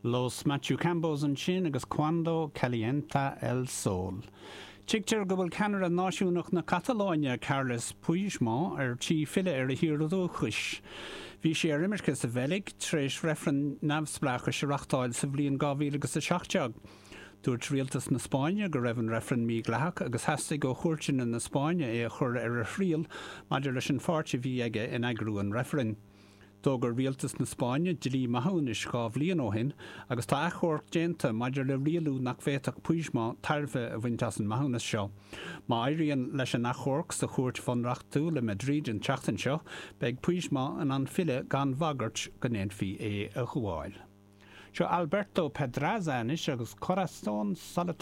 Los Machucambos ansin agus Cuando Calienta el Sol. Tuigtear go bhfuil ceannaire náisiúnach na Catalóine, Carles Puigdemont, ar tí filleadh ar a thír dhúchais. Bhí sé ar imirce sa Bheilg tar éis reifreann neamhspleáchais a reachtáil sa bhliain 2017. Dúirt rialtas na Spáinne go raibh an reifreann mídhleathach agus theastaigh ó chúirteanna na Spáinne é a chur ar a thriail maidir leis an pháirt a bhí aige in eagrú an reifrinn. D'fhógair rialtas na Spáinne dlí maithiúnais 2 bhliain ó shin agus tá achomharc déanta maidir le rialú nach bhféadfadh Puigdemont tairbhe a bhaint as an maithiúnas seo. Má éiríonn leis an achomharc sa chúirt bhunreachtúil i Madrid an tseachtain seo, beidh Puigdemont in ann filleadh gan bhagairt go ndéanfaí é a ghabháil. Seo Alberto Pedraza anois agus Corazón Solitario.